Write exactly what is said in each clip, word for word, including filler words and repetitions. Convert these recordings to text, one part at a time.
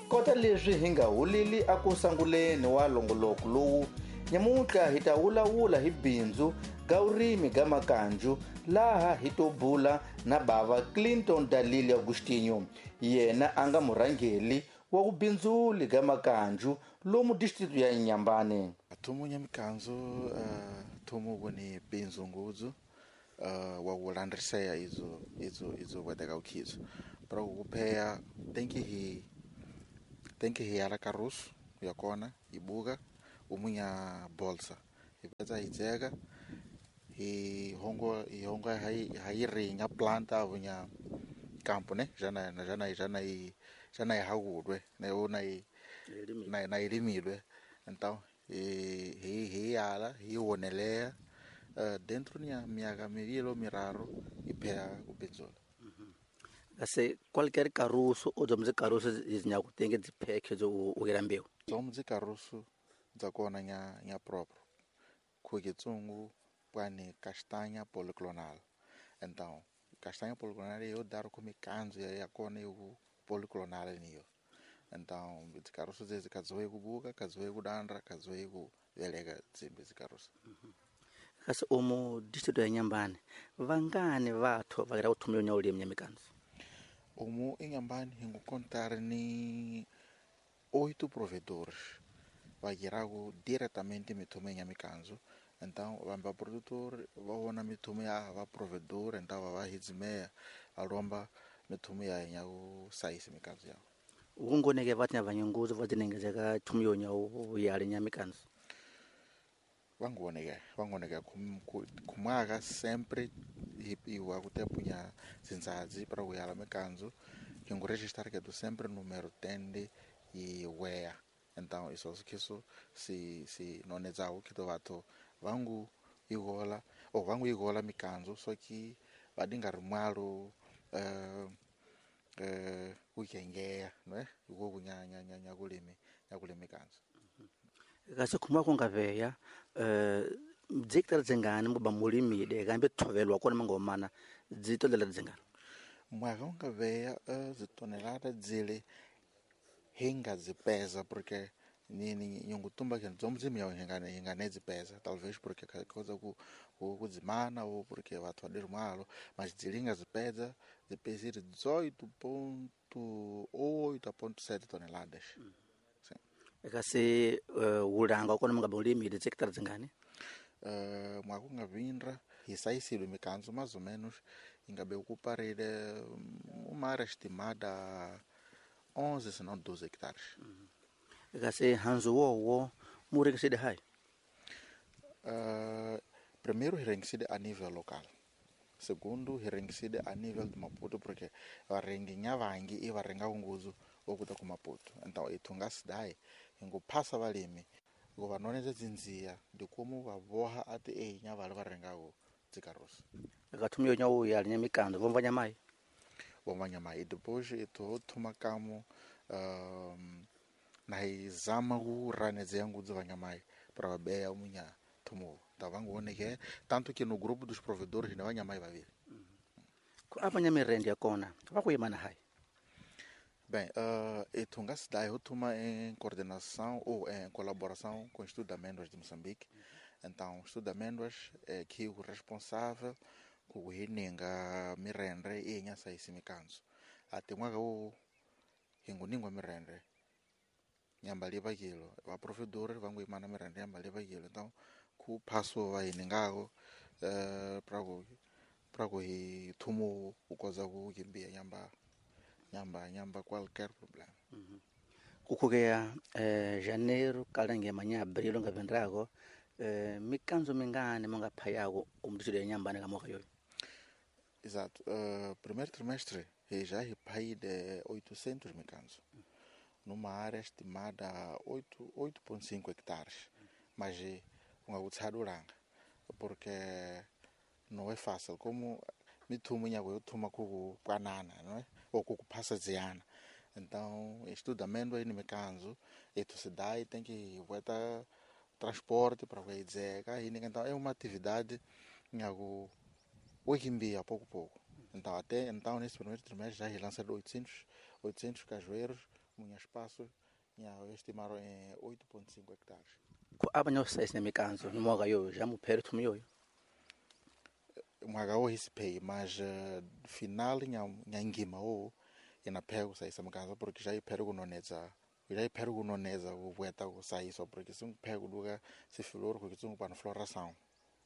Kota leswi hi nga huleli aku sanguleni wa longoloko lowu, nyamuntlha hi ta wulawula hi bindzu ga vurimi ga makanju, laha hi to bula na bava Clinton Dalile Agostinho, yena a nga murhangeli wa vubindzuli ga makanju lomu district ya Inhambane. Thumu nya mikanzu uh, thumu voni bindzu ngudzu uh, wa kulandriseya idzo idzo idzo kweteka ukhidzo para kupheya tenki hi tenki hi yala karusu yakona ibuka umunya bolsa ipetsa hidzeka hi hongo hi hongo hi hi ringa planta avunya campo ne jana jana jana i jana i hagudwe ne ona i na na ilimilwe então hi hi hi yala hi wonelea uh, dentro nya miaka mivili miraru ipheya kubindzula. Kasi qualquer caruso ou dzomzi caruso izinyaku tenge dziphekhe dzo ukela mbeu dzomzi caruso dzakona nya nya próprio kukitsungu pwani castanha policlonal. Então castanha policlonal eu dar com mikanzo ya yakona eu policlonal niyo. Então dzikaruso dzezi kadzoe kubuka kadzoe kudandra kadzoe kuveleka dzimbe dzikaruso. Kasi omu distrito ya Inhambane vangani vathu vakira kuthumela nya ulimi nya mikanzo? Omu Inhambane hingucontar ni oito provedores vakiraku diretamente mithumo ya mikanzo. Então vamba produtor vaona mithumo ya va provedor, então va hidzimea alomba mithumo ya nya ku saisi mikanzo yao. Ukungoneke vathi nya vanyunguzo vatinengezeka thumo yo nya uyale nya mikanzo. Vangoneke vangoneke kumaka sempre iwa kutepunya zinzadzi para kuyala mikanzo hinguregistrar ketu sempre número tende e wea. Então isso kiso si si nonetsawo kito vathu vangu igola ou vangu igola mikanzo só que vadinga rimwalo eh eh kukengeya né iko kunyanya nyanya kulimi nyakulimi kanzo. Kasi khuma kungaveya eh dzikitara dzingani muba mulimide kambe thovelwa kona mangomana dzitolela dzingani? Mwaka ungaveya uh, zitonelada dzile hinga dzipeza porque nini nyungutumba ke dzomzimi yawo hinga hinga nedzipeza talvez porque coisa ku kudzimana ou porque vathu vadirumalo mas dzilinga zipeza zipezire dezoito ponto oito ponto sete toneladas. Mm. Kasi uh, ulanga kona mungaba ulimide dzikitara dzingani? Uh, mwaka ungavindra hisaisilwe mikanzo mais ou menos ingabe okuparire uma área estimada onze se não doze hectares. Mm. Kasi hanzu wowo murengiside hai? Uh, primeiro rengiside a nível local. Segundo rengiside a nível de Maputo porque varengi vangi e varenga unguzu okuta ku Maputo. Então itunga cidade ingupassa valimi govanoneza dzinzia de como vavoha ati einya vale varengago dzikarusa. Kathumyo nya uya linya mikando vomva nyamai. Vomva nyamai depois ito thuma kamo um, na izama ku ranedze ngudzi vanyamai para vabeya umunya thumo tavangoneke tanto que no grupo dos provedores ne vanyamai vaviri. Ku apanya mirende yakona vakuyimana hai? Bem, uh, itunga cidade thuma em coordenação ou em colaboração com o Instituto de Amêndoas de Moçambique. Então, o Instituto de Amêndoas é que o responsável ku hininga mirendre e nyasaisi mikanzo. Ate mwaka o hinguningwa mirendre nyamba liva kilo va provedor vangu imana mirendre nyamba liva kilo. Então ku paso va hiningako eh pra ku pra ku hi thumo ukoza ku kimbia nyamba nyamba nyamba qualquer problema. Mm-hmm. Kukhukeya eh janeiro kalenge manya abril ngavendrako eh mikanzo mingani mungaphayako umdisilo ya Inhambane kamoka yoyo? Exato. Uh, primeiro trimestre já repai de oitocentos micanzos, numa área estimada oito vírgula cinco hectares, mas ungakutsada porque não é fácil como mithumo nyako yothuma kukwanana, não é? Ou kukuphasa ziana. Então, estudo amêndoa e micanzo, e tu se dá e tem que botar transporte para dizer, então é uma atividade nhago hoje em dia pouco pouco. Então até então nesse primeiro trimestre já lançaram oitocentos, oitocentos cajueiros Munha espaço nya estimaram em oito ponto cinco hectares. Ku aba nyo size na mikanzo ni mwaka yo já muphere thumu yoyo. Mwaka wo hisipei, mas uh, final nya nya ngima o ina pego saisa mikanzo porque já iphere kunonetsa já iphere kunonetsa kuvueta kusaiswa porque se pego lugar se flor porque tsungu para floração.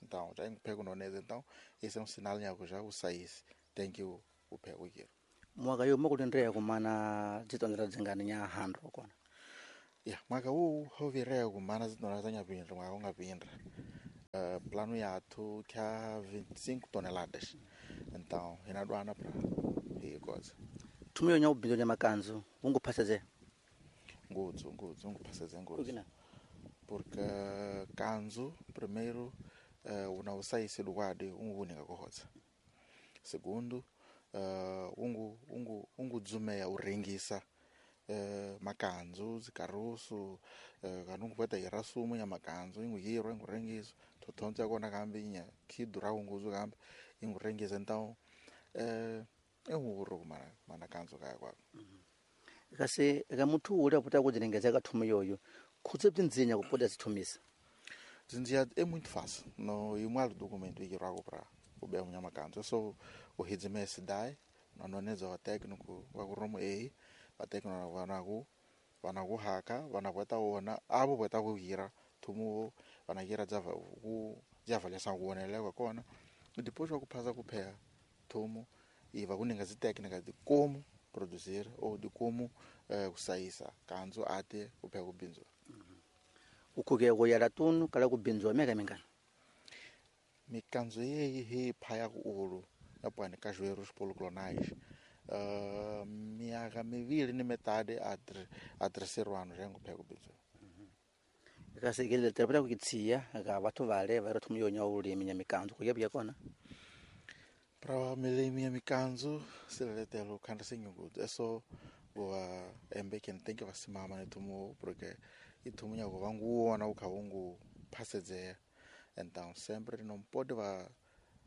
Então já pego nonetsa, então esse é um sinal nya já o sais tem que o o pego aqui. Mwaka yo mokulendrea kumana dzitondera dzingani nya handro kona. Ya, mwaka huu hovirea kumana zitonera za nyapindra mwaka ungapindra. Uh, plano yathu kya vinte e cinco toneladas. Então, inadwana pra e coisa. Thumiyo nya ubinzo nya makanzu, unguphaseze. Ngutsu, ngutsu, unguphaseze ngutsu. Kukina? Porque kanzu primeiro uh, una usaisi lukwadi ungunika kohotsa. Segundo, uh, ungu ungu ungudzumeya urengisa Uh, makanzu zikarusu uh, kanungu peta irasumu ya makanzu inguyiro ingurengiso totonza kona kambi inya kidura unguzu kambi ingurengisa então eh uh, ehuro kumana mana kanzu kaya kwako. Kasi ka muthu uli aputa kudzilengeza ka thumu yoyo khutse bzinzinya kupoda zithumisa. Zinzia é muito fácil no imwalo documento ikirwako pra ubea munya makanzu so uhidzimesi dai nononeza wa técnico wa kuromo ei vatekno vanaku vanakuhaka vanakweta wona avo kweta kuhira thumu vanahira dzava ku dzava kuoneleka kona depois wa kuphasa kupheya thumu iva kuninga zitécnica de como produzir ou de como eh, kusaisa kanzu ate kupheya kubinzwa. Ukhuke kuyala tunu kala kubinzwa meka mingana. Mikanzu yeyi hi phaya ku ulu yapwani cajueiros policlonais. Uh, miaka mivili ni metade a, ter, a terceiro ano já nguphe kubinzwa. Kasi ke le terapeuta ku ka batho vale va re thumu yo nya ulimi nya mikanzu ku yebya kona. Pra milimi ya mikanzu siletelo khanda senyugudu eso wa embe ken tem que vasimama ne thumu porque ithumu nya go vanguona ukhavungu phasedzea. Então sempre não pode va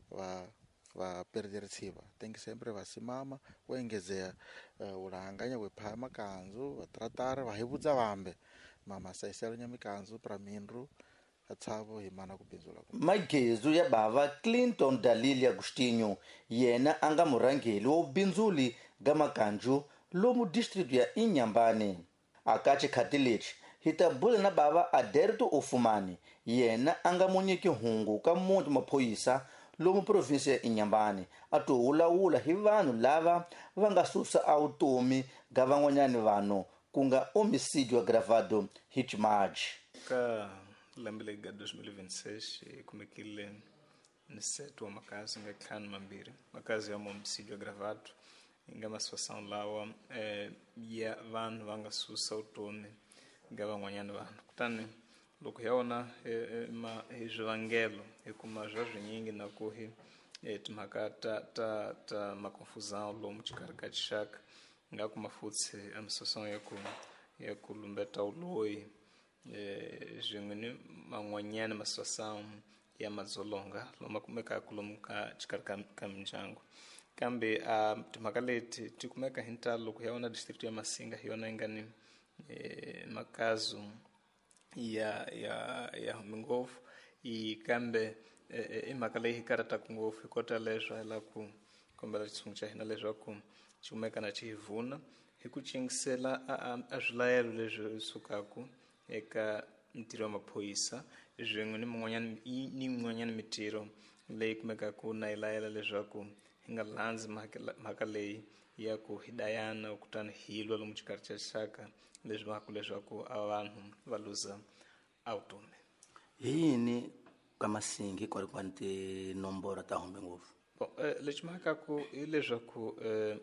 va va perder tsiva tem que sempre vasimama kuengezea uh, ulanganya kwepha makanzu vatratar vahivudza vambe mama saiselo nya mikanzu pra mindru atsavo himana kubinzula. Magezu ya bava Clinton Dalili Agostinho yena anga murangeli wa ubinzuli ga makanju lomu district ya Inhambane. Akachi khatilechi hitabula na bava Aderto Ofumani yena anga munyiki hungu ka muti maphoyisa lomu provinsi ya Inhambane a to wulawula hi vanhu lava va nga susa awutomi ga van'wanyani vanhu ku nga homicídio agravado hi ximaji. Ka lembe leri ga dois mil e vinte e seis hi kumekile ni sete wa makazi nga ntlhanu mambirhi makazi ya homicídio agravado yi nga masituação lawa eh, ya vanhu va nga susa vutomi ga van'wanyani vanhu kutani loko hi wona ma hi swivangelo hi kuma swa swinyingi na ku hi timhaka ta ta ta makonfusão lomu xikarhi ka xixaka nga kuma futhi a misosong ya ku ya ku lumbeta uloyi eh swin'we ni man'wanyana masituação ya madzolonga loma kumekaka lomu ka xikarhi ka ka mindyangu kambe a timhaka leti ti kumeka hi ntalo loko hi wona district ya Masinga hi yona yi nga ni makazu ya ya ya hume ngopfu i kambe i mhaka leyi hi karhataka ngopfu hi kota leswo hi lava ku kombela xitshungu xa hina leswaku xi kumeka na xi hi vuna hi ku cingisela a swilayelo leswi sukaka eka ntirho wa maphorisa swin'we ni min'wanyana ni yin'wanyana mitirho leyi kumekaka na yi layela leswaku hi nga landzi mhaka leyi ya ku hi dayana kutani hi lwa lomu xikarhi xa xaka leswi vangaka leswaku a vanhu va luza a vutomi. Hi yini ka Masingi kwalikwani tinomboro ta humbe ngopfu? Bon, eh, lexi mhakaku hi leswaku eh,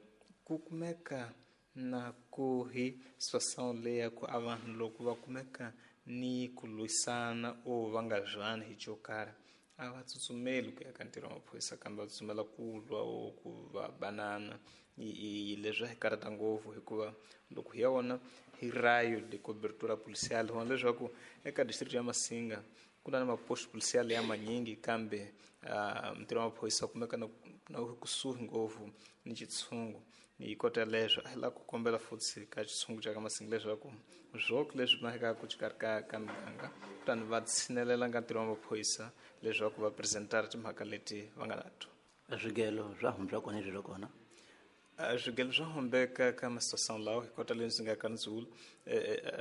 ku kumeka na ku hi situação leyi ya ku a vanhu loko va kumeka ni ku lwisana o va nga zwani hi xo karhi a va tsutsumeli ku ya ka ntirho wa maphorisa kambe va tsutsumela ku lwa o ku va banana i leswi hi karhata ngopfu hikuva loko hi ya vona hi rayo de cobertura policial hi vona leswaku eka district ya Masinga ku na maposto policial ya manyingi kambe uh, ntirho wa maphorisa kumeka na na kusuhi ngopfu ni xitshungu Hi kota leswo a hi lava ku kombela futhi ka xitshungu xa ka Masingi leswaku swoke leswi mahekaku xikarhi ka ka miganga kutani va tshinelela nga ntirho wa maphorisa leswaku va presentara timhaka leti va nga nato. Swigelo swa humba kona leswi kona swigelo swa humbeka ka masituação lawa hi kota leswi nga ka ndzulu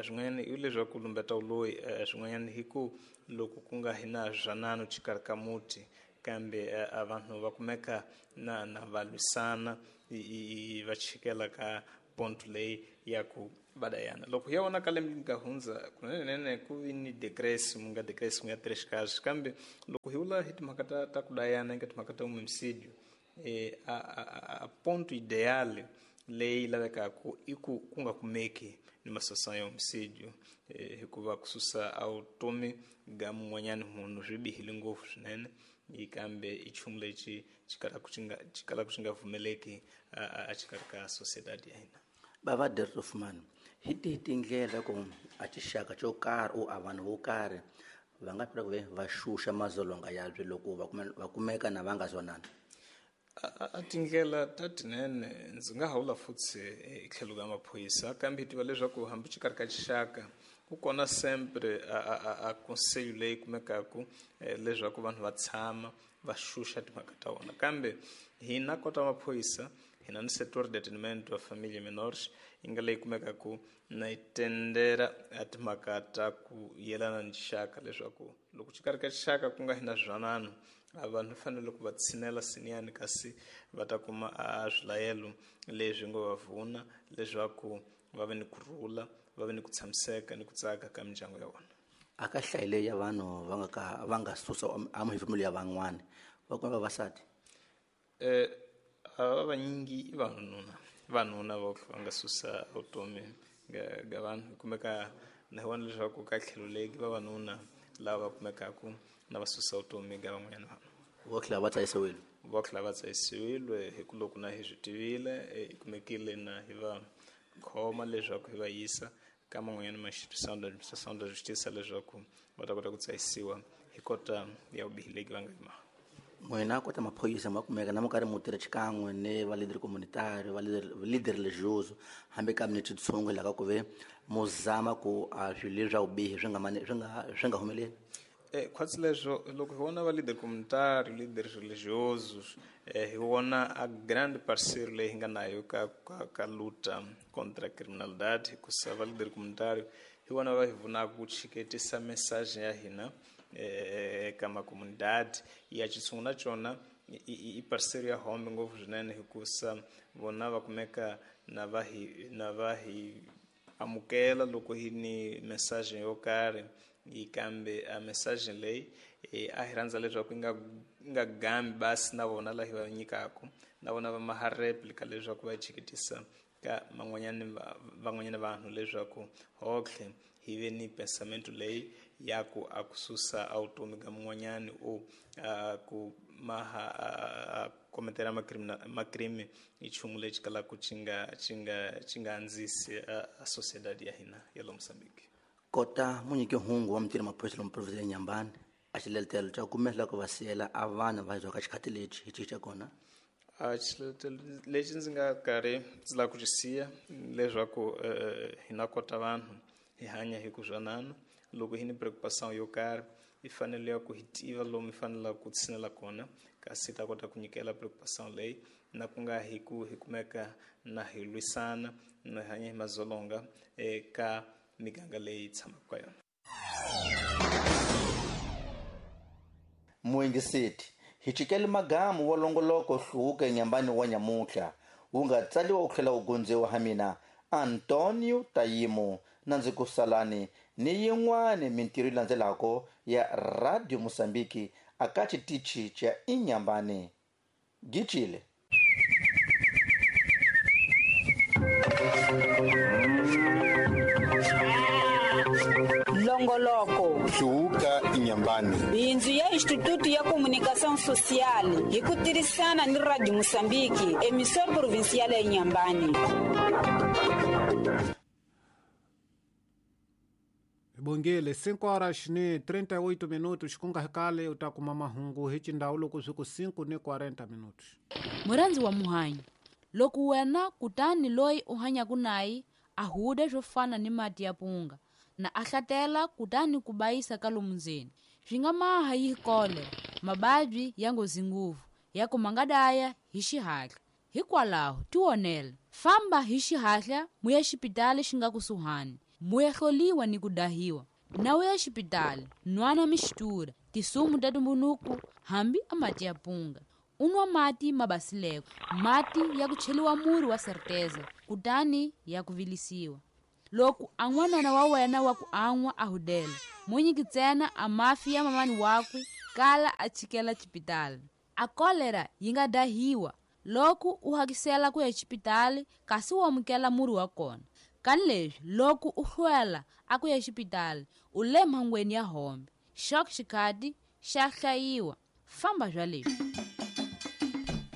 swin'wanyana i leswaku lumbeta loyi swin'wanyana hi ku loko ku nga hi na zwanano xikarhi ka muti kambe a vanhu va kumeka na na va lwisana va chikela ka ponto leyi ya ku vadayana. Loko hi ya vona ka lembe nga hundza kunene ku vi ni decréscimo nga decréscimo ya três casos kambe loko hi vula hi timhaka ta ta ku dayana eka timhaka ta homicídio eh a a a ponto ideal leyi lavekaka i ku ku nga kumeki ni masituação ya homicídio eh hikuva ku susa a vutomi ga mun'wanyana munhu swi bihile ngopfu swinene kambe i nchumu lexi xi kalaka xi nga xi kalaka xi nga pfumeleki a xikarhi ka sociedade ya hina. Bava Dertofman hi tihi tindlela ku a tixaka xo karhi u a vanhu vo karhi va nga fika ku ve va xuxa mazolonga yabyo loko va va kumeka na va nga zonana? A tindlela ta tinene ndzi nga hawula futhi hi tlhelo ka maphorisa kambe hi tiva leswaku hambi xikarhi ka xixaka ku kona sempre a a a conselho leyi kumekaku leswaku vanhu va tshama va xuxa timhaka ta vona kambe hina kota maphorisa hina ni setor de atendimento wa família menores yi nga leyi kumekaku na yi tendera a timhaka ta ku yelana ni xixaka leswaku loko xikarhi ka xixaka ku nga hina zwanano a vanhu fanele ku va tshinela siniyani kasi va ta kuma a swilayelo leswi ngo va vuna leswaku va ve ni kurhula va ve ni ku tshamiseka ni ku tsaka ka mindyangu ya vona. A ka hlayi leyi ya vanhu va nga ka va nga susa a muhefemulo ya van'wani va kuma vavasati eh a vanyingi i vanhununa vanhuna vo va nga susa vutomi ga ga vanhu kumeka na hi vona leswaku ka tlhelo leki vavanuna lava kumekaku na va susa vutomi ga van'wanyana vanhu vo tlhela va tsayisiwile vo tlhela va tsayisiwile hi ku loko na hi swi tivile hi kumekile na hi va khoma leswaku hi va yisa ka man'wanyana ma instituição da administração da justiça leswaku va ta kota ku tsayisiwa hi kota ya vubihi leki va nga yi maha. N'wina kota maphorisa ma kumeka na mo karhi mo tirha xikan'we ni va leader communitario va leader leader religioso hambi ka mi ni tshungu laha ka ku ve mo zama ku a swilo leswi swa vubihi swi nga mani swi nga swi nga humeleli. Eh khwatsi leswo loko hi vona va leader communitario leader religioso eh hi vona a grande parceiro leyi hi nga nayo ka ka, ka luta contra a criminalidade hikusa va leader communitario hi vona va hi pfunaka ku chiketisa message ya hina eka makomunidade ya xitshungu na xona i parceiro ya hombe ngopfu swinene hikusa vona va kumeka na va hi na va hi amukela loko hi ni message yo karhi yi kambe a message leyi a hi rhandza leswaku yi nga nga gambi basi na vona la hi va nyikaka na vona va maha replica leswaku va yi chiketisa ka man'wanyana van'wanyana vanhu leswaku hohle hi ve ni pensamento leyi ya ku a ku susa a vutomi ka mun'wanyani o a ku maha a kometela macrime i nchumu lexi kalaka xi nga xi nga xi nga andzisi a sociedade ya hina ya lo Mozambique. Kota munyiki hungu wa mitirho maphorisa lomu province ya Inhambane a xiletelo xa kumela ku va siyela a vanhu va ka xikhati lexi hi xi xa kona. A xiletelo lexi ndzi nga karhi ndzi lava ku xi siya leswaku hina kota vanhu hi hanya hi ku zwanana loko hi ni preocupação yo karhi i fanele ya ku hi tiva lomu hi fanelaka ku tshinela kona kasi ta kota ku nyikela preocupação leyi na ku nga hi ku hi kumeka na hi lwisana na hi hanya hi mazolonga eka miganga leyi tshamaka ka yona. Muingiseti hi chikele magamu wa longoloko hluke nyambani wa nyamuhla wu nga tsaliwa wu tlhela wu gondziwa ha mina Antonio Tayimo na ndzi ku salani ni yin'wani mintirho yi landzelako ya Radio Mozambique aka xitichi xa Inhambane. Gicile. Longoloko Hluvuka Inhambane bindzu ya Instituto ya Comunicação Social hi ku tirhisana ni Radio Mozambique emissora provincial ya Inhambane. Bongele cinco horas ni trinta e oito minutos ku nga kale u ta kuma mahungu hi xindhawu loko swi ku cinco ni quarenta minutos. Murhandzi wa muhanyi Loko wena kutani loyi u hanyaka naye a huda swo fana ni mati ya punga na a hlatela kutani ku bayisa ka lomu ndzeni swi nga maha yi kolera, mababyi ya nghozi ngopfu ya ku ma nga daya hi xihatla. Hikwalaho tionela, famba hi xihatla muya xipitali xi nga kusuhani, muya hloliwa ni ku dahiwa. Na u ya xipitali nwana mixtura, tisumu ta tumbunuku hambi a mati ya punga. U nwa mati ma basileko, mati ya ku cheliwa murhi wa certeza kutani ya ku vilisiwa. Loko a n'wanana wa wena wa ku an'wa a hudela, mu nyiki ntsena a mafi ya mamani wakwe kala a chikela xipitali. A kolera yi nga dahiwa loko u hakisela ku ya xipitali kasi u amukela murhi wa kona. Kani leswi loko u hlwela a ku ya xipitali u le mhangweni ya hombe. Xok xikhati xa hlayiwa. Famba bya leswi.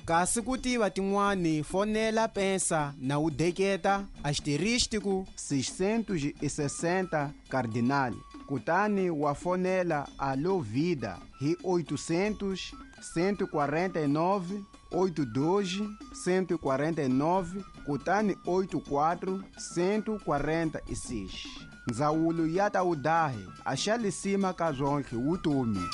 Kasi ku tiva tin'wani fonela pensa na u deketa asterístico seiscentos e sessenta cardinal kutani wa fonela Alô Vida hi oitocentos, cento e quarenta e nove, oito dois, cento e quarenta e nove kutani oito quatro, cento e quarenta e seis. Ndzawulo ya ta udahe a xa lisima ka zwonke wutomi.